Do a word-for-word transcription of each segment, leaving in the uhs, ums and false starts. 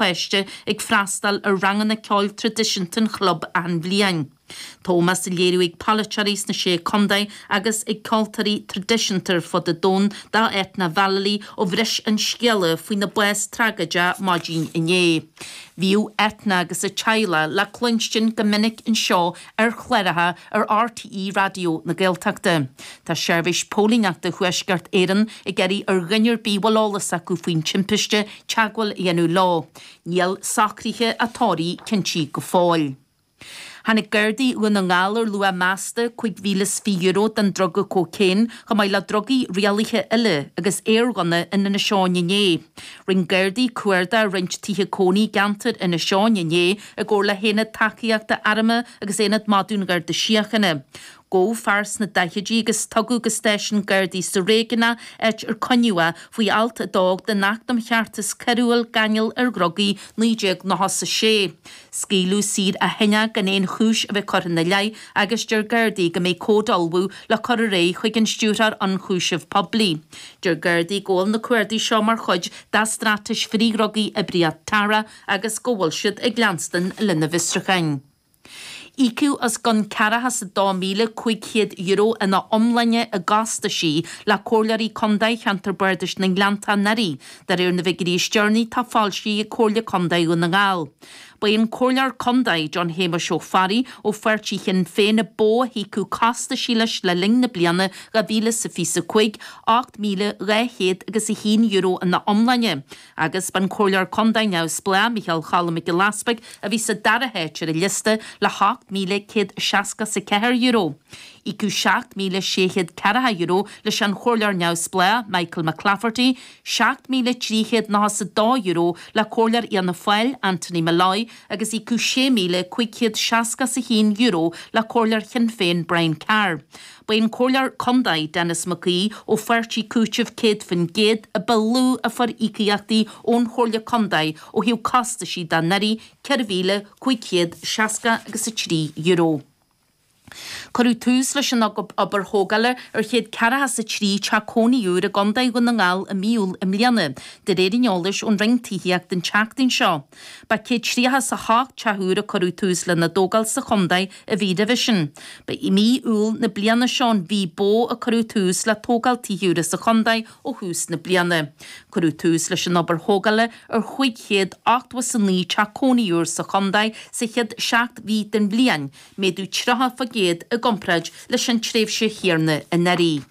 páiste ag freastal ar ranganna ceoil traidisiúnta an chlub achan bhliain. Tá ómós á léiriú ag polaiteoirí sna sé contae agus ag ceoltóirí traidisiúnta ar fud an domhain do Eithne Vallely ó bhris an scéala faoina bás tragóideach maidin inné. Bhíodh Eithne agus a teaghlach le cluinstin go minic anseo ar chláracha ar RTÉ Raidió na Gaeltachta. Tá seirbhís póilíneachta Thuaisceart Éireann ag iarraidh ar dhuine ar bith a bhfuil eolas acu faoin timpiste teagmháil a dhéanamh leo. Níl socruithe an tórraimh cinnte go fóill. Tháinig Gardaí Dhún na nGall ar luach measta cúig mhíle is fiche euro den druga cócaon chomh maith le drugaí rialaithe eile agus aerghunna in Inis Eoghain inné. Rinne Gardaí cuardach roinnt tithe cónaí i gceantar Inis Eoghain inné i gcomhar le hAonad Tacaíochta Armtha agus Aonad Madadh an Gharda Síochána. Gabhadh fear sna daichidí agus tugadh go stáisiún Gardaí sa réigiún é áit ar coinníodh é faoi alt a dó den Acht um Cheartas Coiriúil Gáinneáil ar Dhrugaí naoi déag nócha a sé. Scaoileadh saor ó shin é gan aon chúis a bheith curtha ina leith agus deir Gardaí go mbeidh comhad á ullmhú le cur ar aghaidh chuig an Stiúrthóir Ionchúiseamh Poiblí. Deir Gardaí go bhfuil na cuardaigh seo mar chuid dá straitéis frithdhrugaí Oibríocht Tara agus go bhfuil siad ag leanstan lena bhfiosrúcháin. Íocadh os cionn ceathracha is a dó míle cúig chéad euro ina iomláine i gcostaisí le comhairleoirí contae cheantar Bardais na nGleanntach anuraidh, de réir na bhfigiúirí is deireanaí atá foilsithe ag Comhairle Contae Dhún na nGall. Ba é an comhairleoir contae John Shéamuis Ó Fearraigh ó pháirtí Shinn Féin ba mhó a híocadh costaisí leis le linn na bliana dhá mhíle is a fiche a cúig, ocht míle dhá chéad agus a haon euro ina iomláine, agus b'an comhairleoir contae neamhspleách Micheál Cholm Mac Giolla Easpaig a bhí sa dara háit ar an liosta le hocht míle céad seasca is a ceathair euro. Íocadh seacht míle sé chéad ceathracha euro leis an chomhairleoir neamhspleách Michael McClafferty, seacht míle trí chéad nócha is a dó euro le comhairleoir Fhianna Fáil Anthony Molloy agus íocadh sé míle cúig chéad seasca is a haon euro le comhairleoir Shinn Féin Brian Carr. Ba é an comhairleoir contae Denis Mac Aoidh ó pháirtí Cúitimh céad faoin gcéad a ba lú a fuair íocaíochtaí ón Chomhairle Contae ó thaobh costaisí de anuraidh ceithre mhíle cúig chéad seasca agus a trí euro. Cuireadh tús leis an obair thógála ar chéad ceathracha is a trí teach cónaí úr i gContae Dhún na nGall i mí Iúil i mbliana, de réir an eolais ón Roinn Tithíochta an tseachtain seo. Ba céad tríocha is a hocht teach úr a cuireadh tús lena dtógáil sa chontae an mhí roimhe sin. Ba i mí Iúil na bliana seo an mhí ba mhó a cuireadh tús le tógáil tithe úra sa chontae ó thús na bliana. Cuireadh tús leis an obair thógála ar chúig chéad ochtó is a naoi teach cónaí úr sa chontae sa chéad seacht mhí den bhliain, méadú tríocha faoin gcéad i gcomparáid leis an tréimhse chéanna anuraidh.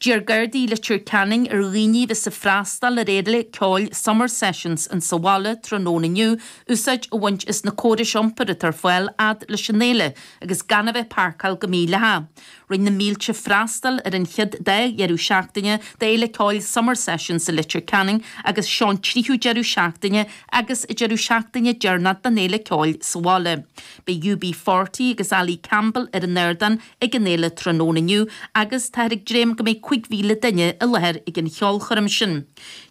D'iarr Gardaí Leitir Ceanainn ar dhaoine a bheas ag freastal ar fhéile ceoil Summer Sessions insa bhaile tráthnóna inniu úsáid a bhaint as na córais iompair atá ar fáil fhad leis an fhéile agus gan a bheith ag páirceáil go mídhleathach. Rinne na mílte freastal ar an chéad dá dheireadh seachtaine d'fhéile ceoil Summer Sessions i Leitir Ceanainn agus seo an tríú deireadh seachtaine agus an deireadh seachtaine deireanach den fhéile ceoil sa bhaile. Beidh U B forty agus Ali Campbell ar an ardán ag an fhéile tráthnóna inniu agus táthar ag dréim go mbeidh cúig mhíle duine i láthair ag an cheolchoirm sin.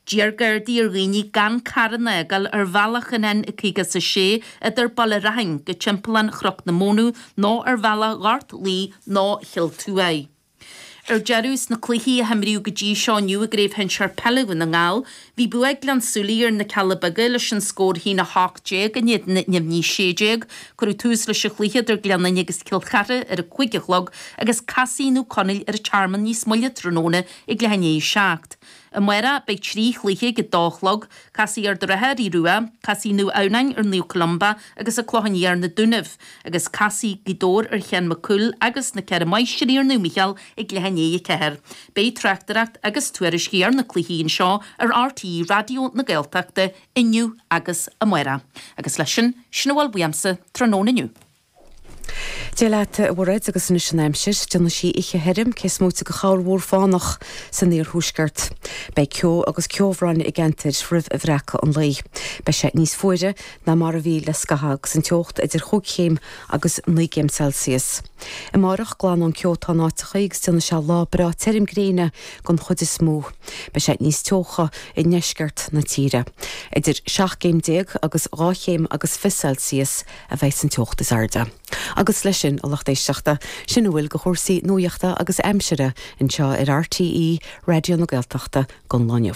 D'iarr Gardaí ar dhaoine gan carranna a fhágáil ar bhealach an N caoga is a sé idir Baile Raithin go Timpeallán Chnoc na Mónadh nó ar bhealach Ghort Laoi nó Chill Tuaidh. Ar deireadh, sna cluichí a himríodh go dtí seo inniu i gCraobh Shinsir Peile Dhún na nGall, bhí bua ag Gleann tSúilí ar na Cealla Beaga leis an scór a haon a hocht déag in éadan neamhní sé déag. Cuireadh tús leis an chluiche idir Gleann Fhinne agus Cill Chartha ar a cúig a chlog agus casfaidh Naomh Conaill ar an Tearmann níos moille tráthnóna ag leath i ndiaidh a seacht. Amárach beidh trí chluiche ag a dó a chlog, casfaidh Ard an Rátha ar Aodh Rua, casfaidh Naomh Adhamhnáin ar Naomh Columba agus an Clochán Liath ar na Dúnaibh, agus casfaidh Gaoth Dobhair ar Sheán Mac Cumhaill agus na Ceithre Máistrí ar Naomh Mícheál ag leath i ndiaidh a ceathair. Beidh tráchtaireacht agus tuairiscí ar na cluichí anseo ar R T É Raidió na Gaeltachta inniu agus amárach. Agus leis sin, sin a bhfuil uaimse tráthnóna inniu. Dia leat, a Mhairéad, agus anois an aimsir. Déanfaidh sí oíche thirim, cé is móite de chorrmhúr fánach san iarthuaisceart. Beidh ceo agus ceobhrán i gceantair roimh bhreacadh an lae. Beidh sé níos fuaire ná mar a bhí le scaitheamh agus an teocht idir chúig chéim agus naoi gcéim Celsius. Amárach, glan ón ceo atá in áiteacha agus déanfaidh sé lá breá tirim gréine den chuid is mó. Beidh sé níos teocha i ndeisceart na tíre. Idir seacht gcéim déag agus dhá chéim agus fiche Celsius a bheidh an teocht is airde. Agus leis sin, a lucht éisteachta, sin a bhfuil de chúrsaí nuachta agus aimsire anseo ar R T É Raidió na Gaeltachta don lá inniu.